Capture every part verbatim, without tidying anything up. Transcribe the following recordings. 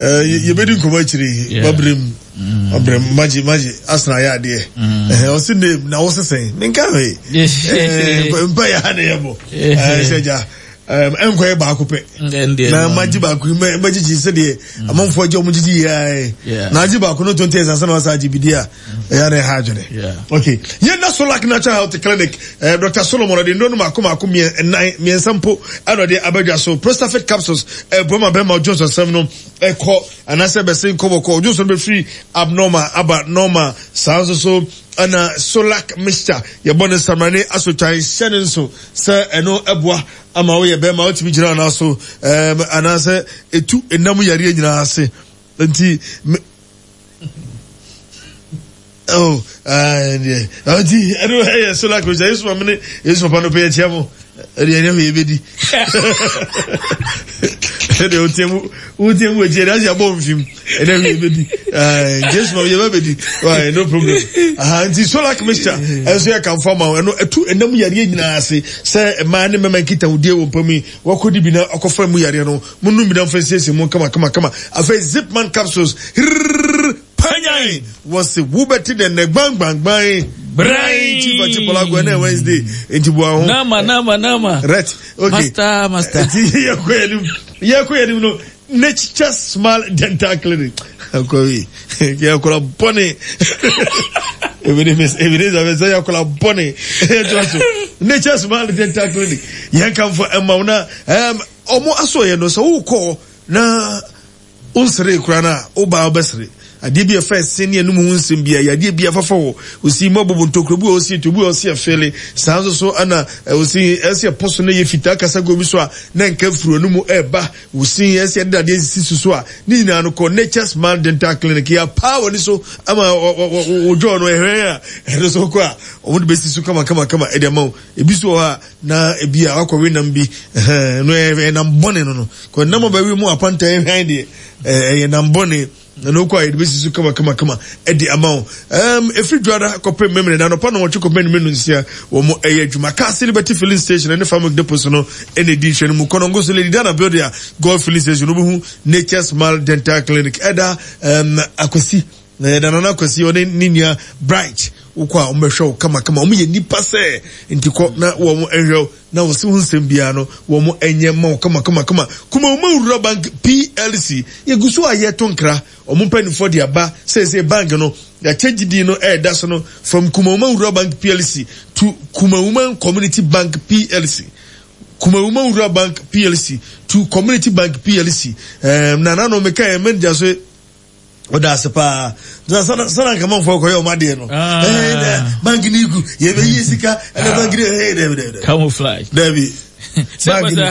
Yɛbɛdi nkɔmmɔ akyire yi. Mabrem, mabrem, magye, magye, asena ayɛ adeɛ. Ɔse name na wo sesɛn, menka hwee. Mpa yɛ ha na yɛbɔ. Sɛ gya, ɛnkɔyɛ baako pɛ. Na magye baako yi, magyegye sɛdeɛ amanfoɔ agye ɔmo gyegye yɛ. Na agye baako no twenty years ansa na wasa agye bi di a, ɛyɛ na ɛha adwene. Okay. Yɛn na Solak Natural Health Clinic, eh, Doctor Solomon ɔde nnuro no mako mako mmiɛnnan mmiɛnsa mpo ɛna ɔde abadwa so. Prostafit capsules ɛboa ma bɛrima ɔdwonsɔ nsɛm no ɛkɔ anaasɛ bɛsen kɔ bɔkɔ. Ɔdwonsɔ no bɛfiri abnormal aba normal. Saa nso so ɛna Solak mixture yɛbɔ ne nsamrane asotwan hyɛ ne nso sɛ ɛno ɛboa ama woyɛ bɛrima wotumi gyina anaa so ɛɛm anaasɛ etu enam yareɛ nyinaa ase. Nti Oh, deɛ nti ɛno ɛyɛ solar cruiser. Yesu maame ne Yesu papa no pɛ yɛkyia mo. Ɛdeɛ ɛnyɛ hwee yɛbɛdi. Ɛdeɛ wotie mu wotie mu akyi ɛdeɛ ahyɛ abɔ mfim ɛnyɛ hwee yɛbɛdi. Nti Yesu maame yɛbɛ bɛdi. Why no problem. Aha nti solar mixture ɛnso yɛ kamfo ama wo. Ɛno ɛtu ɛnam yareɛ nyinaa ase sɛ mmaa ne mmarima nkitahodie wɔ mpa mu yi wakɔdi bi na akɔfa mu yareɛ no mo num bi na mfa nsiesie mu kama kama kama. Afei Zipman capsules hirrrr panyan wɔse wobɛte dɛ nɛ gbangbangban bran chief achipola go ɛnɛ Wednesday nti boa ho nama nama nama right okay master master nti yɛkɔ yɛnim yɛkɔ yɛnim no Nature Smile Dental Clinic akɔwi yɛkɔla bɔne ebine sɛ yɛkɔla bɔne ɛtoa so Nature Smile Dental Clinic yɛnkamfo ɛma wo na ɔmo asɔyɛ no sɛ wokɔ na wonseree koraa no a, wo ba a wobɛsere. Adeɛ bi a ɛfa ɛse ne anum ho nsɛm biara, yadeɛ bi a ɛfafa hɔ, osi mu abobo ntokuro bi wɔ hɔ ɔsi etu, bi wɔ hɔ ɔsi ɛfeele. Saa nso so ɛna osi ɛsi ɛpɔ so na ɛyɛ fitaa kasa gu obi so a na nka firi anum ɛreba. Osi ɛsi ɛde dadeɛ sisi so so a ne nyinaa no kɔ Nature's Smile Dental Clinic. Yɛapaa w'ani so ama wo jaw no ɛhwɛn a ɛno nso kɔ a wɔde bɛsi so kama kama kama ɛde ama wo. Ebi nso wɔ hɔ a na ebi a wakɔwe nam bi ɛhɛn no ɛyɛ nam bɔne no no kɔ nam ɔbɛwe mu apanta ɛhwɛn deɛ ɛyɛ nam bɔne na no kɔ a yɛde bɛsi so kama kama kama ɛde ama wo. ɛm efiri dwada kɔpem memene na anɔpa na wɔtwe kɔpem ne menu nsia wɔn ɛyɛ adwuma. Kaase Liberty Filling Station ɛne Farming Depot so no ɛna edi nhwɛ no mu. Kɔnɔngo so Lady Dana building a Gold Filling Station no bɛhu Nature's Smile Dental Clinic ɛda ɛm Akwasi na yɛda Nana Akwasi ɔne ne nua Bright wokɔ a wɔbɛhwɛ wo kamakama. Wɔn yɛ nipa sɛ nti kɔ na wɔn nhwɛ wo na wɔsi ho nsɛm biara no wɔn nyɛ ma wo kamakamakama. Kumawuma Rural Bank P L C yɛgu so a yɛto nkra wɔn mpanimfoɔ de aba seesei bank no yɛakyɛ gyidie no ɛreda so no from Kumawuma Rural Bank P L C to Kumawuma Community Bank P L C. Kumawuma Rural Bank P L C to Community Bank P L C. Um, na nano meka yɛ manager so ɔda ase paa sana sana nkamanfoɔ kɔyɛ ɔmo adeɛ no ɛɛ bank ni gu yɛbɛyie sika ɛna bank ni ɛɛ dɛbi dɛbi camouflage dɛbi bank ni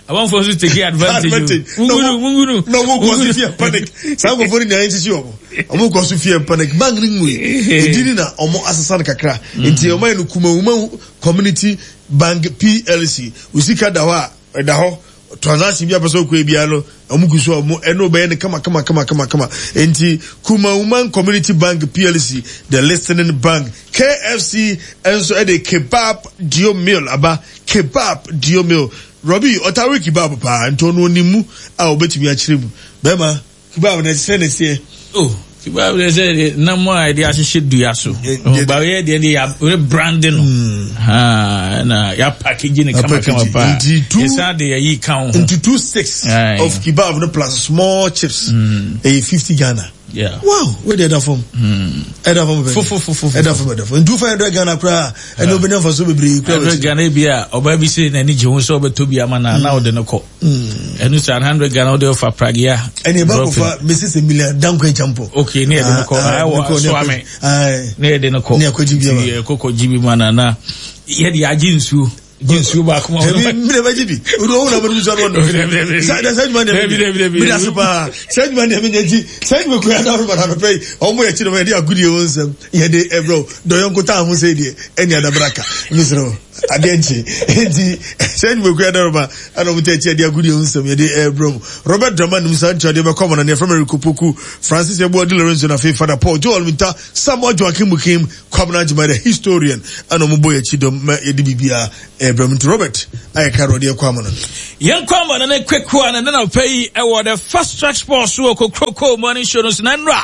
amanfoɔ nso take advantage mungunu mungunu na ɔmo kɔ so fear panic saa nkurɔfoɔ no nyinaa nsisi ɔmo ɔmo kɔ so fear panic bank ni ngu yi edi ni na ɔmo asesa no kakra nti ɔmo ayɛ no Kumawuma Community Bank P L C osika da hɔ a ɛda hɔ transaction bi a pɛsɛ okɔ ebia no ɔmo gu so ɔmo ɛna ɔbɛyɛ no kama kama kama kama kama nti Kumawuman Community Bank P L C the listening bank K F C nso ɛde kebab dio meal aba kebab dio meal Robbie ɔtawe kebab paa nti ɔno onim mu a ɔbɛtumi akyerɛ mu bɛrima kebab na ɛsɛ na ɛsɛ. Oh kebab na ɛsɛ nam a yɛde ahyehyɛ dua so baabi deɛ deɛ yɛ brand no na yɛ package no kama kama paa yɛsan de yɛyi ka ho. Nti two six of kebab no plus small chips ɛyɛ fifty Ghana. Yeah. Wow, wei deɛ ɛda fam. Ɛda fam bɛn. Fofofofo. Ɛda fam ɛda fam. Nti five hundred Ghana koraa ɛna obɛnya nfa so bebree koraa. Hundred Ghana bi a ɔbaa bi sɛ n'ani gye ho sɛ ɔbɛtɔ bi ama na na ɔde no kɔ. Ɛnu sɛ hundred Ghana ɔde ɔfa Pragya. Ɛna ɛba kɔfa Mrs Emilia Dankwa Ekyampo. Okay, ne yɛde no kɔ. Ɛwɔ Soame. Ne yɛde no kɔ. Ne yɛkɔ gyi bi ama. Yɛkɔ kɔ gyi bi ma na na yɛde agye nsuo. Gye nsuo baako ma wɔn. Mi na bɛ gye bi. O de o na bɛ nsuo no. Sa sa adwuma deɛ mi nyɛ. Mi da se paa. Sa adwuma deɛ mi nyɛ nti sa adwuma kura na ɔreba na anɔpɛ yi ɔmo yɛ kyerɛ mo yɛde agudie wɔn nsam yɛde ɛbrɛw dɔyɔnko taa ho sɛ deɛ ɛni adabraka mesrɛ wo adeɛ nkye nti sɛ adwuma kura na ɔreba ɛna ɔmo tɛ akyi yɛde agudie wɔn nsam yɛde ɛbrɛw mo Robert Dramani musa nkyɛn deɛ bɛkɔ amana ne yɛfrɛ Mary Kopoku Francis Yeboah Di Lorenzo na afei Father Paul Joel Minta Samuel Joakim Mukim Kwabena Agyemang the historian ɛna ɔmo bɔ yɛ akyi dɔm ma yɛde biribiara Ɛbrɛm nti Robert ayɛ ka ɔde ɛkɔ ama no. Yɛn kɔ ama no ne kwekwa na nana pɛ yi ɛwɔ the Fast Track Sports wɔ Kokroko Morning Show no so na nnora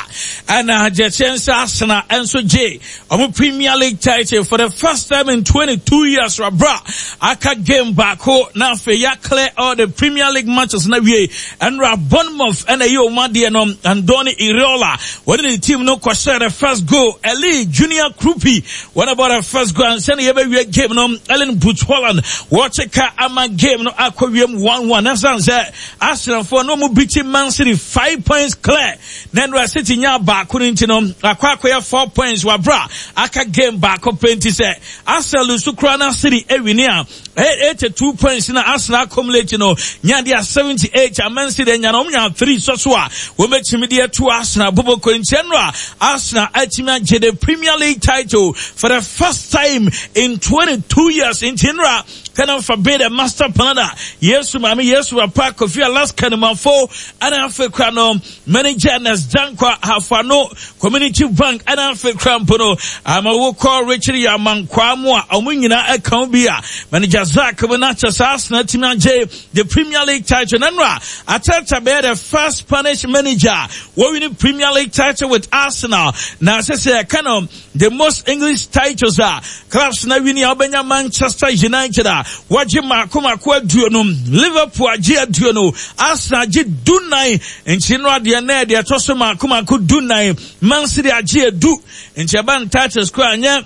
ɛna gyɛkyɛ nsa asena ɛnso gye ɔmo Premier League title for the first time in twenty-two years. Rabra aka game baako na afei ya clear all the Premier League matches na wie ɛnora Bournemouth ɛna ɛyɛ ɔmo adeɛ no. Andoni Iraola wɔne ne team no kɔhyɛ the first goal. Eli Junior Kroupi wɔn about the first goal ansa na yɛbɛwie game no. Ellen Brut Holland wɔkye ka ama game no akɔ wiem one one. Ɛsan sɛ Arsenalfoɔ no mu biti Man City five points clear na nnora City nya baako no nti no akɔ akɔyɛ four points wabra aka game baako pɛ nti sɛ Arsenal nso kura na City ewini a eighty-two points na Arsenal accumulate no nya de a seventy-eight a Man City nya no nya three so so a wɔbɛtumi de ato Arsenal boboko nti nnora Arsenal atumi agye the Premier League title for the first time in twenty-two years nti nnora kana fa be the master planner Yesu mami Yesu papa Kofi Alaska no mafo ana afekra no manager Nas Dankwa Hafano Community Bank ana afekra mpo no ama wo call Richard Yamankwa mu a omu nyina account bi a manager Zach na chesa Arsenal team agye the Premier League title na nra Arteta be the first Spanish manager winning Premier League title with Arsenal na sese kana the most English titles are clubs na winning obenya Manchester United waje mako mako aduonu Liverpool agye aduonu Arsenal agye dunan nti no ade na de etoso mako mako dunan Man City agye edu nti eba titles ko anya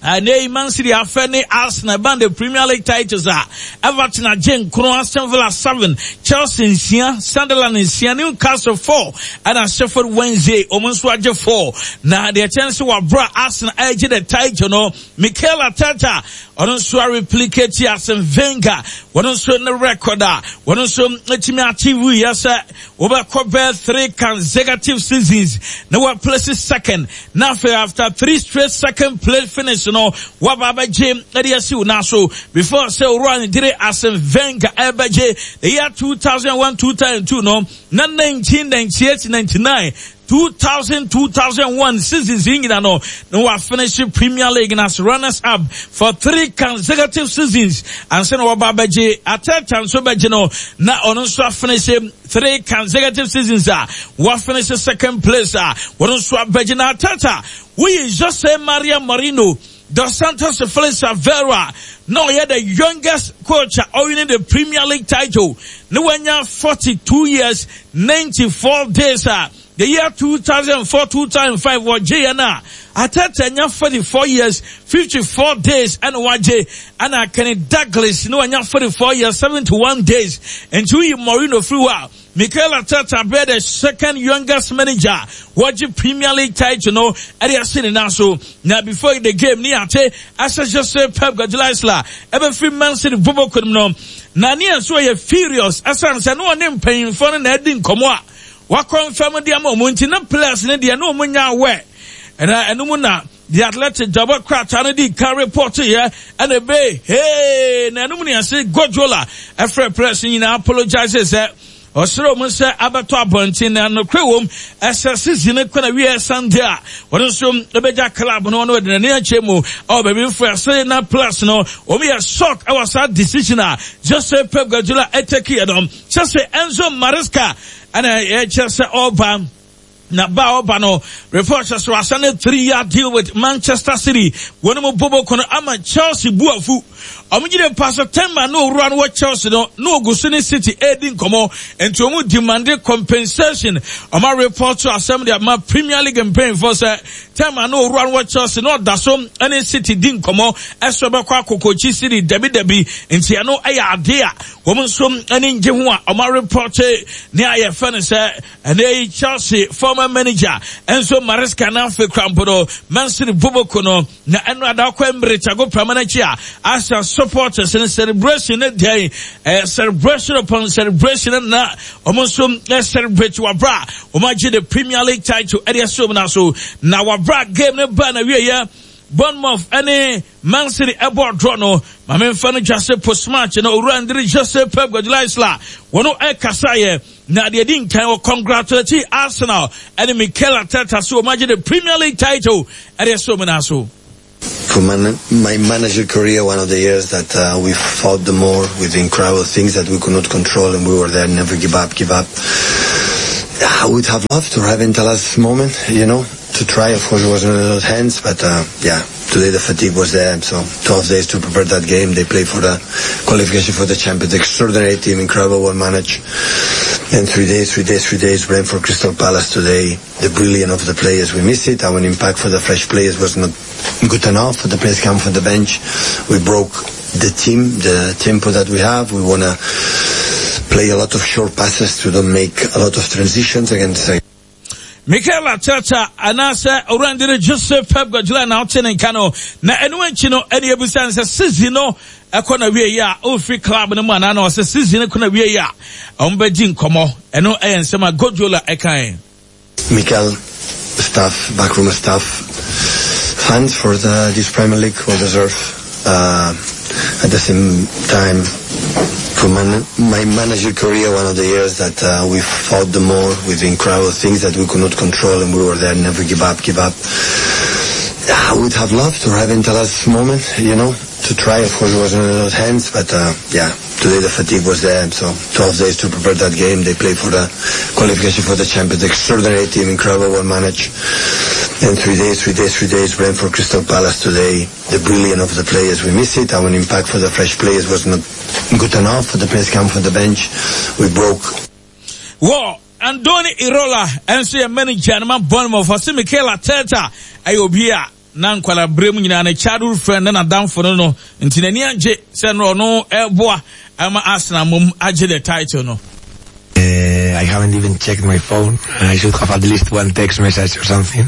ane Man City afɛ Arsenal ban the Premier League titles a Everton agye nkron, Aston Villa seven, Chelsea nsia, Sunderland nsia, Newcastle four, and Sheffield Wednesday omo nso agye four. Na the chance wa bra Arsenal agye the title no Mikel Arteta ono nso a replicate Arsene Wenger ono nso ne record a ono nso etimi achieve yes over three consecutive seasons na wa place second na after three straight second place finish no wa baba gym e si na so before say run dire Arsene Wenger ebeje the year two thousand one two thousand two no na nineteen ninety-eight ninety-nine two thousand two thousand one seasons in no no wa finish Premier League as runners up for three consecutive seasons and sen wa baba je Arteta nso beje no na ono nso finish three consecutive seasons ah wa finish second place ah ono nso beje na Arteta we Jose Maria Mourinho Dos Santos Felix Vera no yeah the youngest coach winning the Premier League title no wanya forty-two years ninety-four days ah the year two thousand four two thousand five was J N R. Arteta nya forty-four years fifty-four days and waje and Kenny Douglas no nya forty-four years seventy-one days and two Mourinho free wa Mikel Arteta be the second youngest manager waje Premier League title no area sitting now so now before the game ni ate asa Jose Pep Guardiola ebe free Man City bobo no na ni so ye furious asa nse no ne mpanyimfo no na edi nkomo a wa confirm dia ma omo nti na players ne dia na omo nya we na enum na the Athletic job crowd no di can report here and be hey na enum ne ase Guardiola e frɛ press nyina apologize sɛ osoro mu sɛ abeto abontin na no krewom ese season kwana wi Sunday a won so ebeja club no no de na ache mu o baby for say na plus no o me shock e was that decision a Jose Pep Guardiola e take here no say Enzo Maresca and e just oba na ba oba no report so asane three year deal with Manchester City won mo bobo kono ama Chelsea buafu omugire pastor Temba no owura no Chelsea no no ogusu ne City edi nkomo enti omu demand compensation oma report to assembly ama Premier League mpain for say Temba no owura no Chelsea no da so ene City di nkomo eso be kwa akokochi City debi debi enti eno eya ade a wo nso ene nge ho a oma report ne aye fa ne say ene Chelsea former manager Enzo Maresca na fe krampo Man City boboko no na eno ada kwa Emirates ago pramana chi a Arsenal supporters in celebration day, uh, celebration upon celebration na almost celebrate wabra omaji the Premier League title area so na so na wabra game ne ba na wie ya Bournemouth any Man City ebo draw no mame mfa no Jose post match no owura Andre Jose Pep Guardiola wono e kasa ye na de di nkan wo congratulate Arsenal and Mikel Arteta so omaji the Premier League title area so na so. For man- my manager career, one of the years that uh, we fought the more with incredible things that we could not control, and we were there, never give up, give up. I would have loved to have until last moment, you know, to try. Of course, it wasn't in our hands, but uh, yeah, today the fatigue was there. So twelve days to prepare that game. They play for the qualification for the Champions. Extraordinary team, incredible, well managed. And three days, three days, three days, Brentford, Crystal Palace today. The brilliance of the players, we miss it. Our impact for the fresh players was not good enough. The players come from the bench. We broke the team, the tempo that we have. We wanna play a lot of short passes to don't make a lot of transitions against. Mikel Arteta anaasɛ owurandere Joseph Pep Guardiola na ɔte ne nka no na ɛno akyi no ɛne ebusa sɛ season no ɛkɔ na wie yi a ofiri club no mu anaa na ɔsɛ season no kɔ na wie yi a ɔmo bɛgye nkɔmɔ. Ɛno ɛyɛ nsɛm a Guardiola ɛkan. Mikel, staff, backroom staff, fans for the, this Premier League will deserve. Uh, at the same time, for man, my manager career, one of the years that uh, we fought the more with incredible things that we could not control, and we were there, never give up, give up. I would have loved to have until last moment, you know, to try. Of course, it wasn't in our hands, but uh, yeah, today the fatigue was there. So twelve days to prepare that game. They play for the qualification for the Champions. Extraordinary team, incredible, well managed. And three days, three days, three days, Brentford, Crystal Palace today. The brilliance of the players, we miss it. Our impact for the fresh players was not good enough. The players come from the bench. We broke. Whoa. Andoni Iraola nso yɛ manager no ma Bournemouth. Ɔse Mikel Arteta ɛyɛ obi a na nkwala bere mu nyinaa ne childhood friend ne n'adamfo no no nti n'ani agye sɛ no ɔno ɛboa ama Arsenal mom agye the title no. Uh, I haven't even checked my phone. I should have at least one text message or something.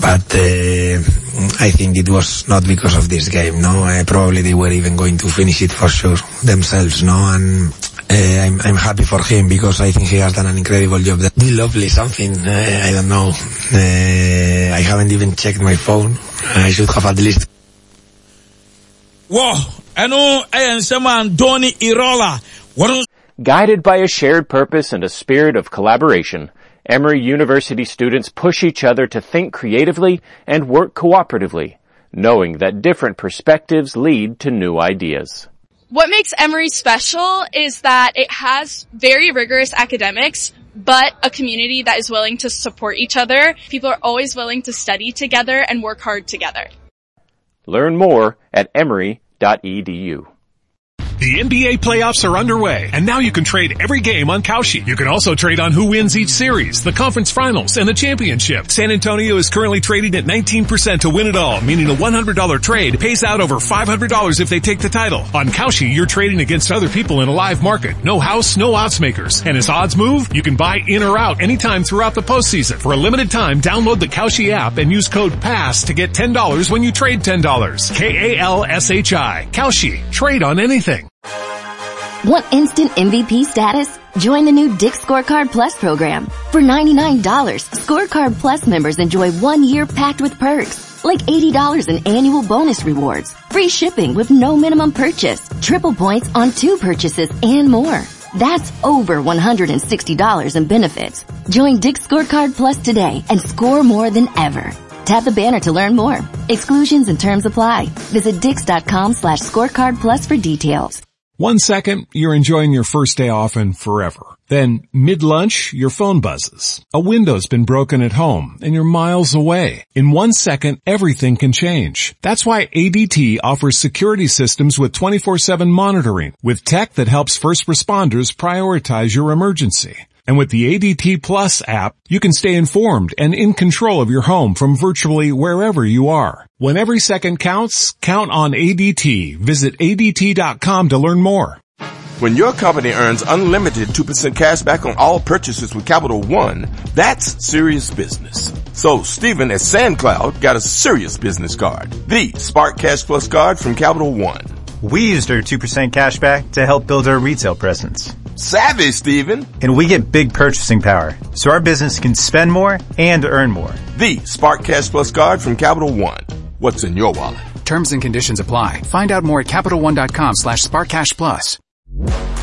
But uh, I think it was not because of this game, no? Uh, probably they were even going to finish it for sure themselves, no? And uh, I'm, I'm happy for him because I think he has done an incredible job. That'd be lovely, something, uh, I don't know. Uh, I haven't even checked my phone. I should have at least. Whoa, ɛno ɛyɛ nsɛm a Andoni Iraola wɔn Guided by a shared purpose and a spirit of collaboration, Emory University students push each other to think creatively and work cooperatively, knowing that different perspectives lead to new ideas. What makes Emory special is that it has very rigorous academics, but a community that is willing to support each other. People are always willing to study together and work hard together. Learn more at emory dot e d u. The N B A playoffs are underway, and now you can trade every game on Kalshi. You can also trade on who wins each series, the conference finals, and the championship. San Antonio is currently trading at nineteen percent to win it all, meaning a one hundred dollar trade pays out over five hundred dollars if they take the title. On Kalshi, you're trading against other people in a live market. No house, no odds makers. And as odds move, you can buy in or out anytime throughout the postseason. For a limited time, download the Kalshi app and use code PASS to get ten dollars when you trade ten dollars. K A L S H I. Kalshi. Trade on anything. Want instant M V P status? Join the new Dick's Scorecard Plus program. For ninety-nine dollars, Scorecard Plus members enjoy one year packed with perks, like eighty dollars in annual bonus rewards, free shipping with no minimum purchase, triple points on two purchases, and more. That's over one hundred sixty dollars in benefits. Join Dick's Scorecard Plus today and score more than ever. Tap the banner to learn more. Exclusions and terms apply. Visit dicks.com slash scorecard plus for details. One second, you're enjoying your first day off and forever. Then, mid-lunch, your phone buzzes. A window's been broken at home, and you're miles away. In one second, everything can change. That's why A D T offers security systems with twenty-four seven monitoring, with tech that helps first responders prioritize your emergency. And with the A D T Plus app, you can stay informed and in control of your home from virtually wherever you are. When every second counts, count on A D T. Visit A D T dot com to learn more. When your company earns unlimited two percent cash back on all purchases with Capital One, that's serious business. So Steven at SandCloud got a serious business card, the Spark Cash Plus card from Capital One. We used our two percent cash back to help build our retail presence. Savvy, Steven. And we get big purchasing power, so our business can spend more and earn more. The Spark Cash Plus card from Capital One. What's in your wallet? Terms and conditions apply. Find out more at CapitalOne.com slash SparkCashPlus.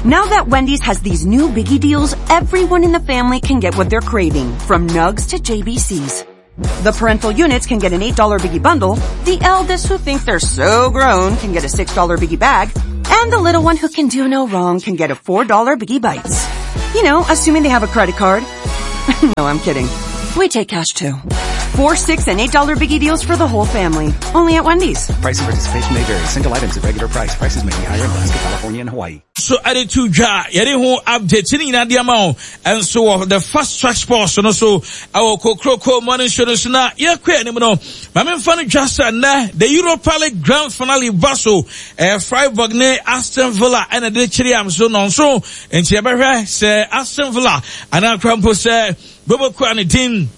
Now that Wendy's has these new biggie deals, everyone in the family can get what they're craving, from nugs to J B C's. The parental units can get an eight dollar Biggie bundle, the eldest who think they're so grown can get a six dollar Biggie bag, and the little one who can do no wrong can get a four dollar Biggie Bites. You know, assuming they have a credit card. No, I'm kidding. We take cash too. Four, six, and eight dollar Biggie deals for the whole family. Only at Wendy's. Price and participation may vary. Single items at regular price. Prices may be higher in Alaska, California, and Hawaii. So added to ja, yɛde ho update ne nyinaa de ama wo ɛnso wɔ the Fast Track Sports no so ɛwɔ Kokroko Morning Show no so na yɛkɔ anim no maame nfa no dwa sɛ nnɛ the Europa League Grand Finale ba so ɛɛ Freiburg ne Aston Villa ɛna de kyerɛ am so nɔnso nti yɛbɛhwɛ sɛ Aston Villa anaa kora mpo sɛ bɛbɛkura ne din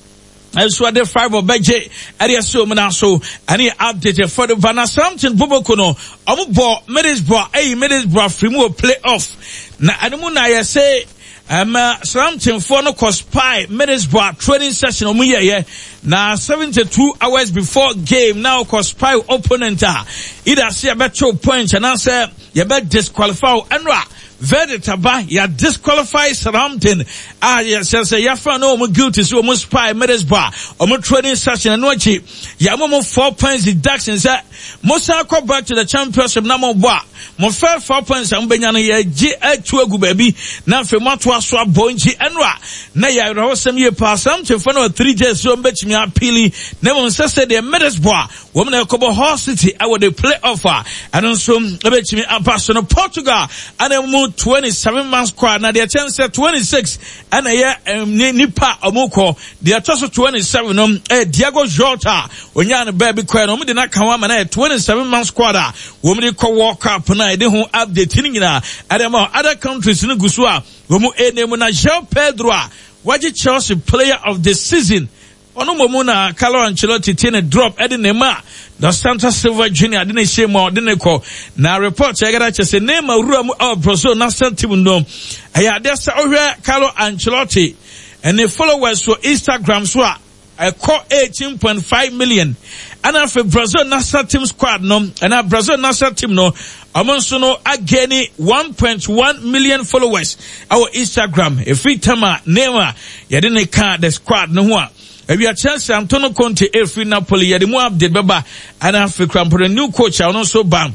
nso ade Freiburg bɛgye ɛde ɛsɛ wɔn nan so ɛne update for the Van Southampton boboko no ɔmo bɔ Middlesbrough ɛyi Middlesbrough firi mu wɔ play off na ɛno mu na yɛsɛ ɛma Southamptonfoɔ no kɔ spy Middlesbrough training session ɔmo yɛyɛ na seventy two hours before game na ɔkɔ spy opponent a either sɛ yɛbɛkyew point anaasɛ yɛbɛ disqualify ɛno a verdict aba yɛ disqualify Southampton a yɛsɛ sɛ yɛafa no wɔn guilty sɛ wɔn spy Middlesbrough wɔn training session ɛno akyi yɛama mo four points deduction sɛ mo san kɔ back to the championship na mo bɔ a mo fɛ four points a mo bɛnya no yɛgye atu agu baabi na afei mo ato aso abɔ nti ɛno a na yɛ awerɛhosɛm yie paa Southampton fo no wɔ three days so wɔn bɛtumi appeal na mmom sɛ sɛ deɛ Middlesbrough wɔn na ɛkɔbɔ Hull City ɛwɔ the play off a ɛno nso ɛbɛtumi aba so no Portugal ɛna mu twenty seven man squad na deɛ kyɛn sɛ twenty six ɛna ɛyɛ nipa a wɔn kɔ deɛ ɛtɔ so twenty seven no ɛyɛ Diego Jota onyaa no baabi kɔɛ no wɔn de n'aka ho ama na ɛyɛ twenty seven man squad a wɔn de kɔ World Cup na ɛde ho update ne nyinaa ɛde ma other countries no gu so a wɔn ɛnam na João Pedro a wagye Chelsea player of the season ɔno mmom na Carlo Ancelotti tie ne drop ɛde ne ma Dos Santos Silva Junior de ne hyɛ mu a ɔde ne kɔ na report ɛgada kyɛ sɛ Neymar wura mu ɛwɔ Brazil national team no ɛyɛ adeɛ sɛ ɔhwɛ Carlo Ancelotti ɛne followers wɔ Instagram so a ɛkɔ eighteen point five million ɛna afei Brazil national team squad no ɛna Brazil national team no ɔmo nso no agani one point one million followers ɛwɔ Instagram efiri tam a Neymar yɛde ne ka the squad no ho a awia Chelsea Antonio Conte efiri Napoli yɛde mu update bɛba ɛna afei krampɔn new coach a ɔno nso ba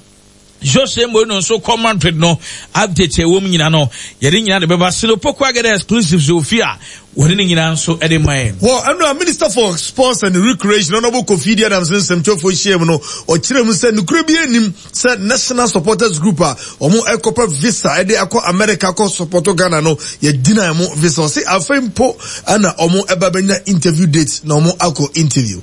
Jose Mourinho nso kɔ Madrid no update ɛwɔ mu nyina no yɛde nyina de bɛba Sinopoko agɛdɛ exclusives ofi a wɔde ne nyinaa nso ɛde ma yɛn. Wɔ ɛno a Minister for Sports and Recreation Honourable Kofi Adams nsɛmtwerɛfoɔ hyia mu no ɔkyerɛ mu sɛ nokura bi anim sɛ National Supporters Group a wɔn ɛkɔpɛ visa ɛde akɔ America akɔ support Ghana no yɛgyina mo visa ɔse afei mpo ɛna wɔn ɛba bɛnya interview date na wɔn akɔ interview.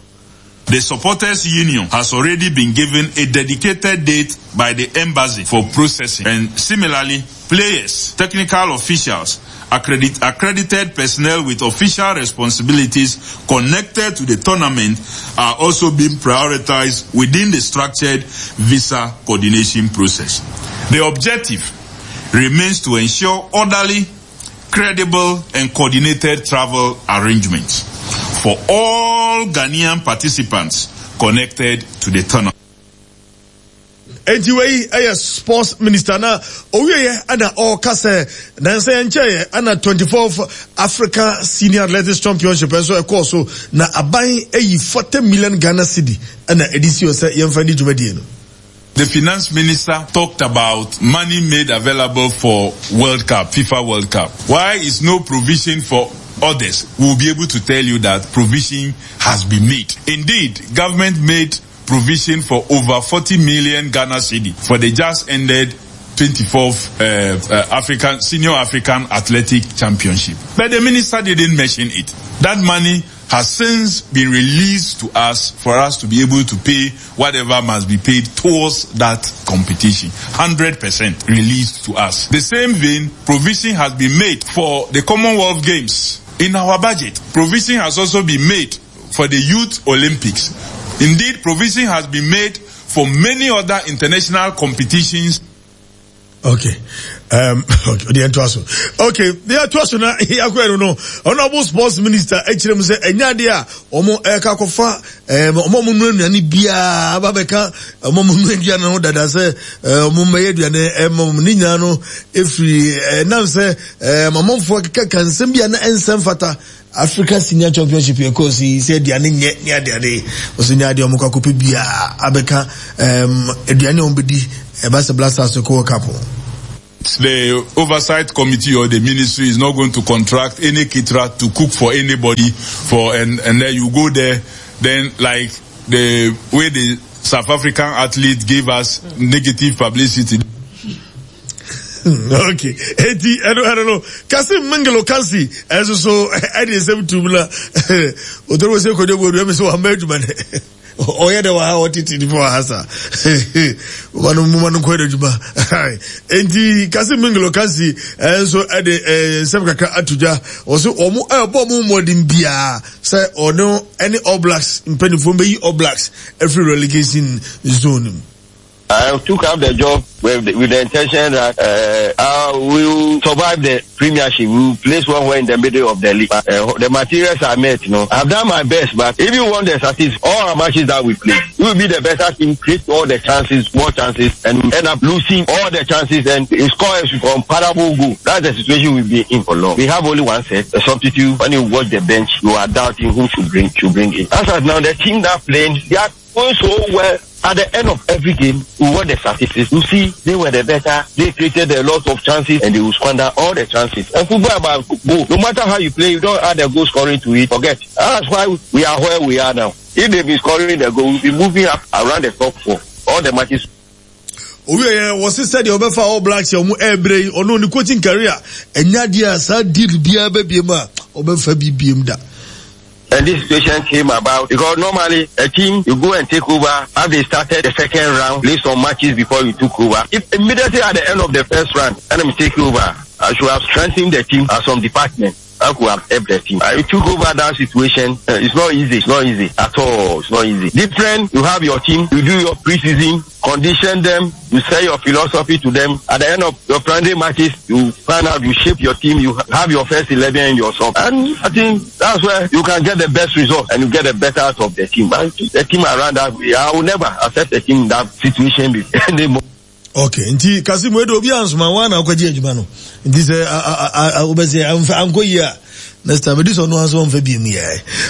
The Supporters Union has already been given a dedicated date by the embassy for processing. And similarly, players, technical officials, accredit, accredited personnel with official responsibilities connected to the tournament are also being prioritized within the structured visa coordination process. The objective remains to ensure orderly, credible, and coordinated travel arrangements for all Ghanaian participants connected to the tournament. Enti wei ɛyɛ sports minister na owieyɛ ɛna ɔreka sɛ nansa yɛn nkyɛn ɛna twenty-fourth Africa Senior Athletics Championship nso ɛkɔɔ so na aban ɛyi forty million Ghana cedi ɛna ɛde si hɔ sɛ yɛmfa ne dwumadie no. The finance minister talked about money made available for World Cup, FIFA World Cup. Why is no provision for others? We will be able to tell you that provision has been made. Indeed, government made provision for over forty million Ghana cedi for the just ended twenty-fourth uh, uh, African Senior African Athletic Championship. But the minister didn't mention it. That money has since been released to us for us to be able to pay whatever must be paid towards that competition. one hundred percent released to us. The same vein, provision has been made for the Commonwealth Games in our budget. Provision has also been made for the Youth Olympics. Indeed, provision has been made for many other international competitions. Okay. Um, okay, the entwaso. Okay, the entwaso na yakwa no. Honorable Sports Minister ekyirem se enya de a omo e ka kofa em omo mu nu aduane bia aba beka omo mu nu aduane no dada se omo meye aduane em ni nya no efiri nam se mamamfo keka kansem bia na ensem fata Africa Senior Championship yɛ kɔɔ so yi sɛ aduane nyɛ ne adeade ɔsɛ nyɛ adeɛ ɔmo kɔ akɔpɛ biara abɛka ɛɛm aduane a ɔmo bɛdi ɛba sɛ Black Stars kɔ World Cup. The oversight committee or the ministry is not going to contract any caterer to cook for anybody for and, and then you go there, then like the way the South African athlete gave us negative publicity. Okay. Eti ɛno ɛno no Kasim Mingelo Kansi ɛnso so ɛde nsɛm tum na otoro wɔ sɛ kodwo bodu ɛmi sɛ wama adwuma ne ɔyɛ dɛ wɔ ha ɔtete nipa wɔ ha sa wɔn no moma no nkɔ adwuma. Enti Kasim Mingelo Kansi ɛnso ɛde nsɛm kakra ato dwa ɔso wɔn ɛbɔ wɔn mmɔden biara sɛ ɔno ɛne All Blacks mpanimfoɔ bɛyi All Blacks ɛfiri relegation zone mu. I took up the job with the, with the intention that uh, I will survive the premiership. We will place somewhere in the middle of the league. Uh, the materials are met, you know. I've done my best, but if you want the statistics, all our matches that we play, we will be the better team, create all the chances, more chances, and end up losing all the chances and score a comparable goal. That's the situation we'll be in for long. We have only one set, a substitute. When you watch the bench, you are doubting who should bring, should bring in. As of now, the team that playing, they are going so well. At the end of every game, we want the statistics. You see, they were the better. They created a lot of chances and they will squander all the chances. And football about goal. No matter how you play, you don't add a goal scoring to it. Forget. That's why we are where we are now. If they've been scoring the goal, we'll be moving up around the top four. All the matches. Owie wɔ sisɛ deɛ ɔbɛfa All Blacks yɛ ɔmo ɛɛbrɛ yi ɔno ne coaching career ɛnya deɛ a saa deal biara bɛbiem a ɔbɛfa bi biem da. And this situation came about because normally a team, you go and take over. As they started the second round, play some matches before you took over. If immediately at the end of the first round, and I'm take over, I should have strengthened the team at some department. I could have helped the team. I took over that situation. Uh, it's not easy. It's not easy at all. It's not easy. Different, you have your team, you do your preseason, condition them, you sell your philosophy to them. At the end of your friendly matches, you find out, you shape your team, you have your first eleven and your sub. And I think that's where you can get the best result and you get the better out of the team. But the team around that, I will never accept a team in that situation anymore. Okay, nti Kasim wedo obi ansoma wa na akwaji adwuma no. Nti se obese anko yi a next time this one no answer mfa bi mu ye.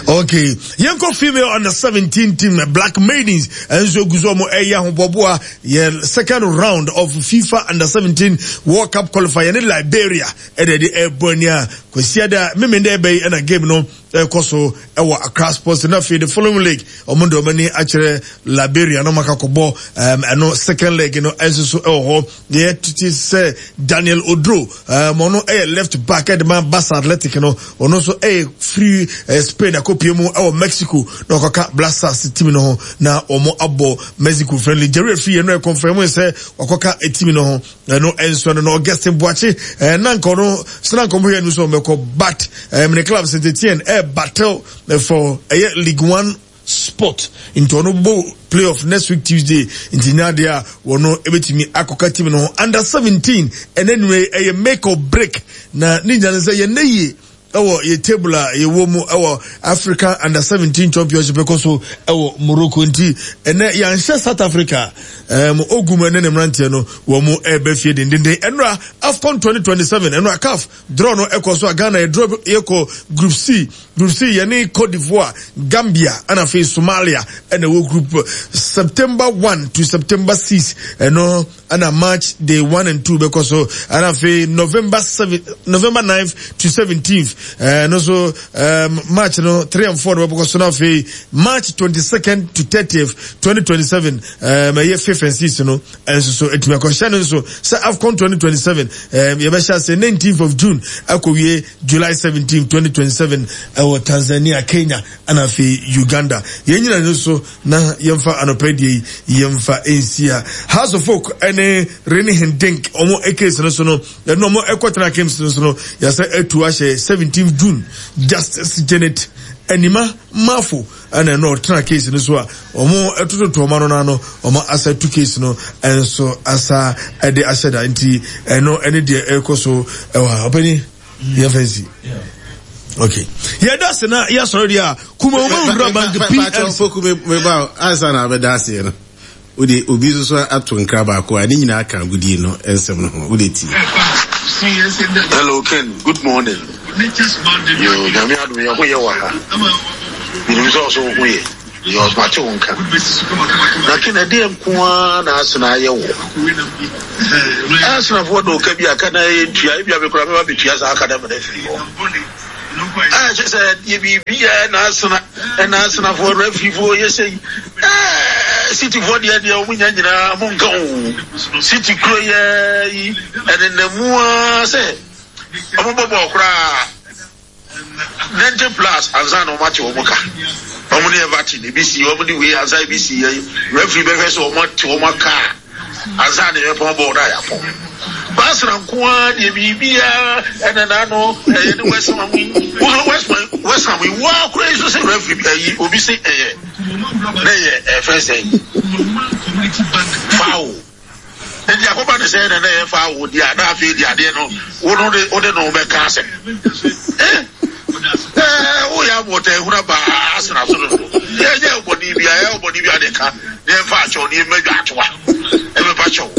Okay, yenko female under seventeen team Black Maidens enso guzo mo eya hoboboa ye second round of FIFA under seventeen World Cup qualifier ne Liberia e de Ebonia kwesiada memende be na game no ekoso ewa Accra Sports na fe the following league omondo mani achere Liberia no makakobo um eno second leg no enso ewo ho ye titi se Daniel Odro um ono e left back e de man Barca Athletic no ono so e free uh, Spain akopie mu ewo Mexico na okoka Black Stars team no ho na omo abo Mexico friendly Jerry free no e confirm se okoka e team no ho no enso no Augustin Boache eh, nanko no snanko mo hwe no so meko but um, the club Saint Etienne e battle for a League One spot into no bo playoff next week Tuesday into Nadia wono ebetimi akoka team no under seventeen and anyway a make or break na ninja say ye ye ewo ye table ye wo mu ewo Africa under seventeen championship ekoso ewo Morocco nti ene ya nhye South Africa um ogum ene ne mrantie no wo mu ebe fie dendende enra AFCON twenty twenty-seven enra C A F draw no ekoso Ghana e draw yeko group C group C ye ne Cote d'Ivoire, Gambia and afi Somalia ene wo group September first to September sixth eno ana March day one and two because so and afi November seventh November ninth to seventeenth. Uh, no so um March no three and four because so now March twenty-second to thirtieth twenty twenty-seven um year fifth and sixth no and so so it me question so so AFCON twenty twenty-seven um you better say nineteenth of June akowie July seventeenth twenty twenty-seven uh, Tanzania, Kenya and afi Uganda ye nyina no so na yemfa anopedie yemfa ensia House of Folk ene Rene Hendink omo ekes no so no no omo ekotena games no so no ya say etu ahye seventeenth June Justice Janet Enima Mafo and no tena case no so a omo etototo omo no no omo asa two case no enso asa e de ahye nti eno ene de ekoso e wa opani ye fancy. Okay. Yeah, that's na yeah sorry dia kuma omo wura bank P L C foku me me ba ansa na be das no odi obi so so ato nkra ba ko ani nyina aka gudi no ensem no ho odi ti. Hello Ken, good morning. Yo, nyame adom yɛ ho yɛ wɔ ha. Menim sɛ ɔso ho yɛ. Yɛ ɔsmate wo nka. Na Ken ɛdeɛ nko ara na asena ayɛ wo. Asenafoɔ de ɔka bi aka na ɛyɛ ntua, ebi a mekora mɛba bɛtua saa aka na mena afiri hɔ. A kyɛ sɛ yɛ biribi ɛ na asena ɛna asenafoɔ refereefoɔ yɛ sɛ yi. Ɛɛ cityfoɔ deɛ deɛ wɔn nya nyinaa mo nka o. City kuro yɛ yi ɛnenam ara sɛ wɔn bɔ bɔɔl koraa ninety plus ansa na wɔn ate wɔn ka. Wɔn ne Everton ebi si wɔn de wei ansa ebi si yɛ referee bɛhwɛ sɛ wɔn ate wɔn aka ansa na yɛpɔn bɔɔl na yɛapɔn. Baasena nko ara deɛ biribiara ɛna n'ano ɛyɛ ne West Ham yi West Ham West Ham yi waa kura yi so sɛ referee bi ayi obi sɛ ɛyɛ na ɛyɛ ɛfɛ sɛ foul nti akɔba ne sɛ ɛna na ɛyɛ foul deɛ ana afei deɛ adeɛ no wo no de wo de no bɛka asɛm ɛɛ ɛɛ woyɛ abɔta ehuna baa asena so dodo yɛ nyɛ ɔbɔni bi a yɛ ɔbɔni bi a de ka ne yɛn fa akyɛw ne yɛn mɛdwa atoa ɛbɛba kyɛw.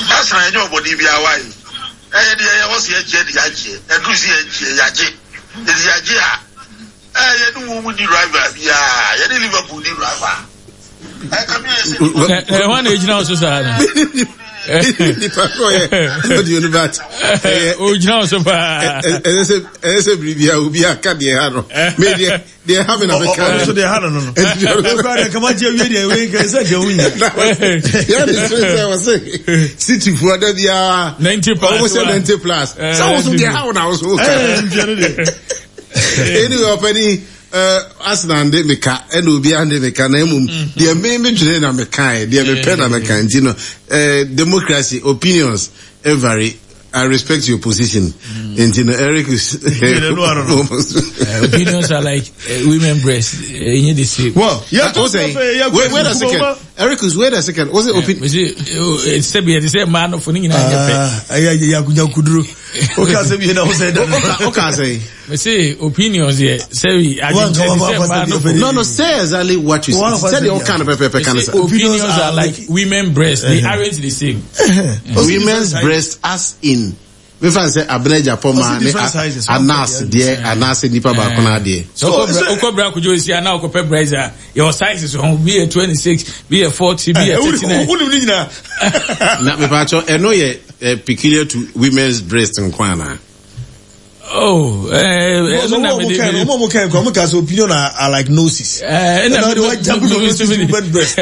Asena yɛnyɛ ɔbɔne biara wae. Ɛyɛ deɛ yɛwɔ sɛ yɛgyeɛ de yɛagyeɛ. Ɛduru sɛ yɛgyeɛ yɛagye. Ɛti yɛagye a, ɛɛ yɛne wɔn mu ni rival biara. Yɛne Liverpool ni rival. Ɛka mi yɛ sɛ. Ɛhɔn na egyina so saa no. Nipa kɔ yɛ ɔdi onu bat. Ogyina so paa. Ɛsɛ sɛ ɛsɛ sɛ biribi a obi aka deɛ ha no. Mɛ deɛ deɛ ha mi na mɛ ka. Ɔno nso deɛ ha no no no. Ɛkura deɛ kama gye awie deɛ wei nka ɛsɛ deɛ wonya. Yɛ de sere sɛ wɔse city foɔ da biara. Ninety plus. Ɔmo sɛ ninety plus. Sɛ wɔso deɛ ha wo na wɔso ka. Anyway ɔpɛni Arsenal de meka ɛna obiara de meka na mmom deɛ me me dwene na meka deɛ mepɛ na meka nti no democracy opinions vary. I respect your position. Mm. Nti no Eric is uh, opinions are like uh, women breasts. Uh, you the same. Well, yeah, uh, say, wait, wait a second. Eric is wait a second. What's it opinion? It's the same man for ni Ah, yeah, yeah, yeah, kuduro. Okay, say bi na o say that. Okay, say. Me say opinions here. Say I No, no, say exactly what you say. Say the all kind of pepper kind of. Opinions are like women breasts. They aren't the same. Women's breasts as in. We find say abneja poma ne anas there anas nipa ba kona there. So okobra kujo isi ana okope breast your size is on be a twenty-six, be a forty, be a thirty-nine. Na me pa cho eno ye peculiar to women's breast nkwa na. Oh, eh, no, no, no, no, no, opinion are, are like noses. Eh, no, they want jump women's breast.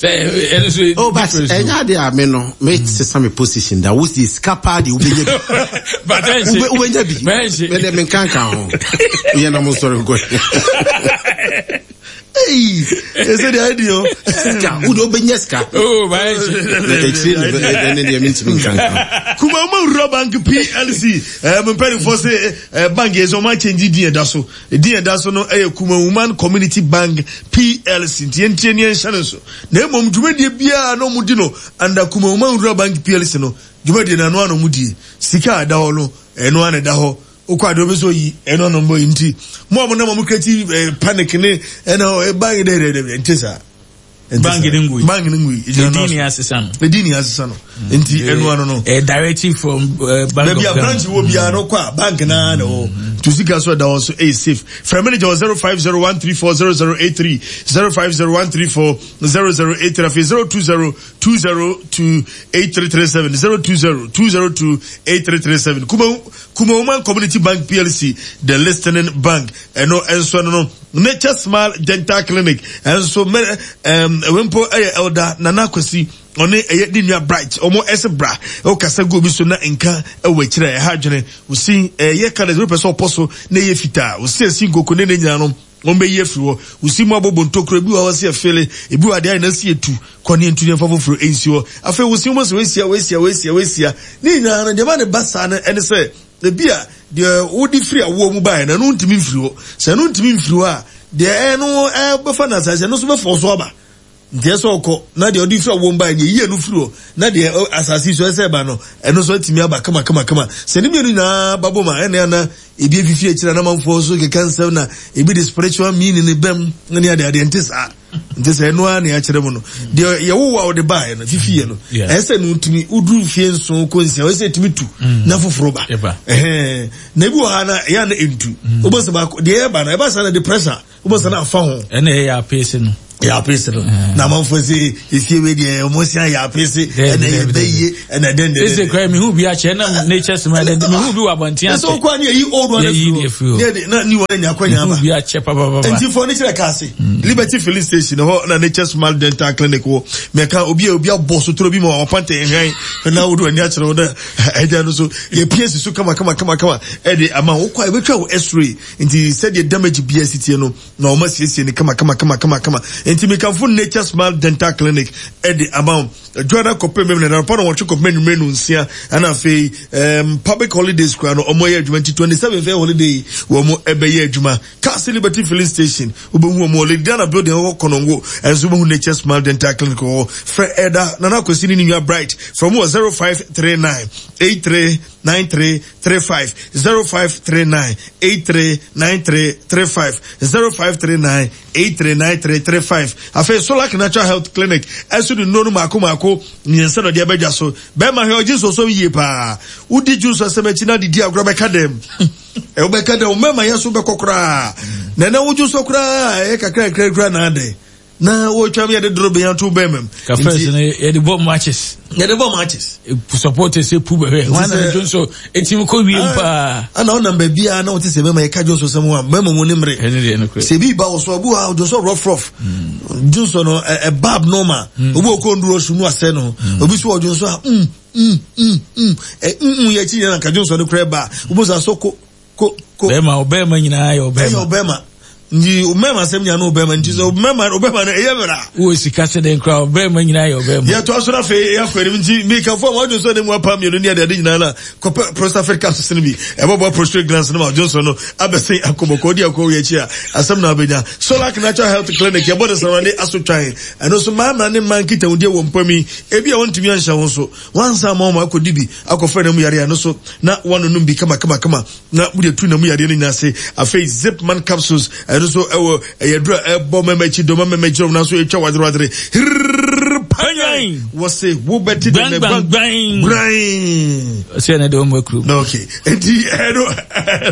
Oh, but any day I mean no, me sesa me position that was the scapa the ubenya bi. But then ubenya bi. Me dem nkan kan ho. Ye na mo sorry go. Hey, is it the idea? Sika, wo do ubenya sika. Oh, but e ne ne me ntimi nkan kan. Kumama Rural Bank P L C. Eh, me pay for say bank is on my change din da so. Din da so no eh Kumawoman Community Bank P L C. Nti entie ne enhye ne so. Na emom dwumadie bia na omudi no under Kumawoman Rural Bank P L C no. Dwumadie na no anomudi. Sika da ho no, eno ane da ho. Okwa de obeso yi eno no mbo nti. Mo mo na mo create panic ne eno bank de de de nti sa. Bank ni ngui. Bank ni ngui. Edini asesa no. Edini asesa no. Nti eno ano no. Eh directive from uh, bank. Maybe a branch wo bia no kwa bank na na o. To sika so da won so eh safe. Frame manager zero five zero one three four zero zero eight three zero five zero one three four zero zero eight three zero two zero two zero two eight three three seven zero two zero two zero two eight three three seven. Kuma Kumawoman Community Bank P L C, the listening bank. Eno enso no Nature Smile Dental Clinic. And so um wempo eh elder Nana Kwesi one eye di nua bright omo ese bra o kasa go bi so na nka e we kire e ha dwene o si e ye colors we person oposo na ye fita o si esi ngoko ne ne nyina no o be ye firi wo o si mu abobo ntokro bi wa o si efele ebi wa de na si etu kɔ ne ntu ne fa foforo ensi wo afa o si mo so we sia we sia we sia we sia ne nyina no de ba ne basa na ene se ebi a de wo di firi awo mu ba na no ntimi mfiri wo se no ntimi mfiri wo a de eno e be fa na sa se no so be fo so aba Nti ɛsɛ ɔkɔ na deɛ ɔde firi awom ba yɛ yie no firi hɔ na deɛ asase so ɛsɛ ba no ɛno nso atumi aba kama kama kama. Sɛ ne mmienu nyinaa ba bom a ɛna ana ebi efifi akyire na amanfoɔ so keka nsɛm na ebi de spiritual meaning ne bɛm ne ade adeɛ nte saa. Nti sɛ ɛno ara na yɛakyerɛ mu no deɛ yɛwowo a wɔde baeɛ no fifi yɛ no ɛsɛ sɛ no tumi woduru fie nson kɔ nsia ɛsɛ sɛ ɛtumi tu na foforɔ ba na ebi wɔ ha na ɛyɛ na ɛntu wobɔ sɛ baako deɛ ɛba no ɛba saa na de pressure wobɔ sɛ na afa ho ɛna ɛyɛ apese no yɛ apese no na amanfoɔ sɛ efie wei deɛ ɔmo si ayɛ apese ɛna ɛyɛ bɛyie ɛna dɛn dɛn sese kura mihu bi akyɛ ɛna nature sima dɛn mihu bi wɔ abɔnten ase ɛsɛ okɔ ani eyi old one efiri hɔ ne na new one nya akɔnya aba mihu bi akyɛ papapapa nti fɔ ne kyerɛ kaase Liberty filling station hɔ na Nature Smile Dental Clinic wɔ mɛka obi a obi abɔ sotoro bi ma ɔpanta ehwan na wodo ani akyerɛ wo na ɛgya no so yɛ pie si so kama kama kama kama ɛde ama wokɔ a ebetwa wo x-ray nti sɛdeɛ damage bi asi tie no na wɔn asiesie no kama kama kama kama kama nti mekamfo Nature Smile Dental Clinic ɛde ama wo adwada kɔpem mɛmɛ na anɔpa na wɔtwe kɔpem anwummerɛ no nsia ɛna afei um, public holidays koraa no wɔn ayɛ adwuma nti twenty seven fɛ holiday wɔn ɛbɛyɛ adwuma Castle Liberty filling station wobɛhu wɔn wɔ Lady Diana building wɔ Konongo ɛnso wobɛhu Nature Smile Dental Clinic wɔ hɔ frɛ ɛda Nana Akwasi ne ne nua Bright frɛ wɔn wɔ zero five three nine eight three nine three three five zero five three nine eight three nine three three five zero five three nine eight three nine three three five. Afei Solak Natural Health Clinic ɛso de nnuro no mako mako mmiɛnsa na ɔde abɛdwa so. Bɛrima hwɛ ɔgye nsɔsɔm yie paa. Wodi juice asɛm akyi na didi agorɔ bɛka dɛm. Ɛwobɛka dɛm mmarima yɛ so bɛkɔ koraa. Na ɛnɛ wodwo so koraa ɛyɛ kakra kakra koraa na adɛn. Na wɔtwa mi yɛde doro bɛn ato bɛn mɛm. Kafɛs no yɛde bɔ matches. Yɛde bɔ matches. Supporters epu bɛhwɛ. Wɔn na dwo nso etimi kɔ wiem paa. Ana ɔnam baabi a na wɔte sɛ bɛma yɛka dwo nso sɛm ho a bɛma mu ne mmere. Ɛne deɛ no korɛ. Sɛ ebi ba wɔ so abu ha dwo nso rough rough. Dwo nso no ɛba abnormal. Obi wɔ kɔ nduro so nu asɛ no. Obi so wɔ dwo nso a mm mm mm mm mm yɛ akyi nyina nka dwo nso no korɛ ba. Obi nso asɔ ko ko ko. Bɛrima ɔbɛrima nyinaa yɛ ɔbɛrima. Ɛyɛ ɔbɛrima. Nti ɔbɛrima asɛm nyinaa no ɔbɛrima nti sɛ ɔbɛrima ɔbɛrima no ɛyɛ mmerɛ. Wɔ sika sɛ dɛn koraa ɔbɛrima nyinaa yɛ ɔbɛrima. Yɛtɔ aso no afei yɛakɔ anim nti mekafo a wɔadwo sɛ ne mu apa mmienu ne adeade nyinaa no a kɔpɛ prostafit capsules no bi ɛbɛboa prostate glands no ma adwonsɔ no abɛsen akɔbɔkɔ di akɔ wɔ akyi a asɛm na abɛnya. Solak Natural Health Clinic yɛbɔ ne sɛnwade asotwan ɛno nso mmarima ne mmaa nkitahodie wɔ mpam yi ebi a wɔntumi anhyɛ ho so wansa ama wɔn akɔdi bi akɔfra na mu yare ano so na wɔanonom bi kama kama kama na wode atu na mu yadeɛ no nyinaa ase. Afei Zipman capsules ɛno nso ɛwɔ ɛyɛ duro a ɛbɔ mɛmɛ akyi dɔm mɛmɛ akyi dɔm nanso ɛtwa wadere wadere hirrrr panyan wɔse wobɛte dɛ gbangban gbran sɛ ɛna de wɔn akuru na okay enti ɛno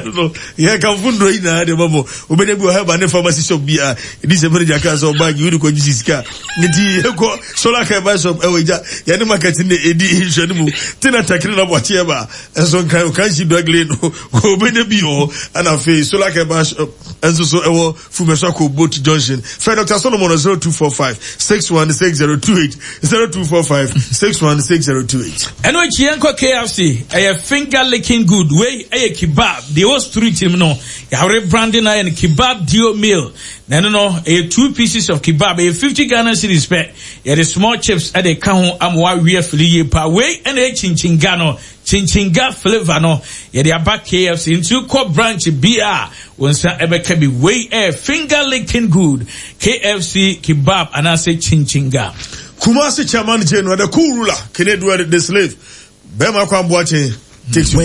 ɛno yɛ kamfo nnuro yi nyinaa de ma mo wobɛnya bi wɔ hɛba ne pharmacy shop bi a ɛdi sɛ manager kaa sɛ ɔbaagi wode kɔgye sika nti yɛkɔ solar care shop ɛwɔ gya yɛne market ne ɛdi nhwɛ no mu tena takiri na bɔkyeɛ ba ɛnso nkran okansi dɔgle no wɔbɛnya bi wɔ ɛna afei solar care shop ɛnso so ɛwɔ Fumesako boat junction fɛ Doctor Solomon zero two four five six one six zero two eight zero two four five six one six zero two eight. Ɛno akyi yɛnkɔ K F C ɛyɛ finger licking good wei ɛyɛ kebab deɛ ɛwɔ street mu no yɛawere branding ayɛ no kebab dio meal na ɛno no ɛyɛ two pieces of kebab ɛyɛ fifty Ghana cedis pɛ yɛde small chips ɛde ka ho ama wawe afili yie paa wei ɛna ɛyɛ chinchinga no chinchinga flavor no yɛde aba K F C nti kɔ branch bi a wɔn nsa ɛbɛka bi wei ɛyɛ finger licking good K F C kebab anaasɛ chinchinga. Kumasi chairman Jane the cool ruler Kennedy the slave Bema Kwamboache takes you.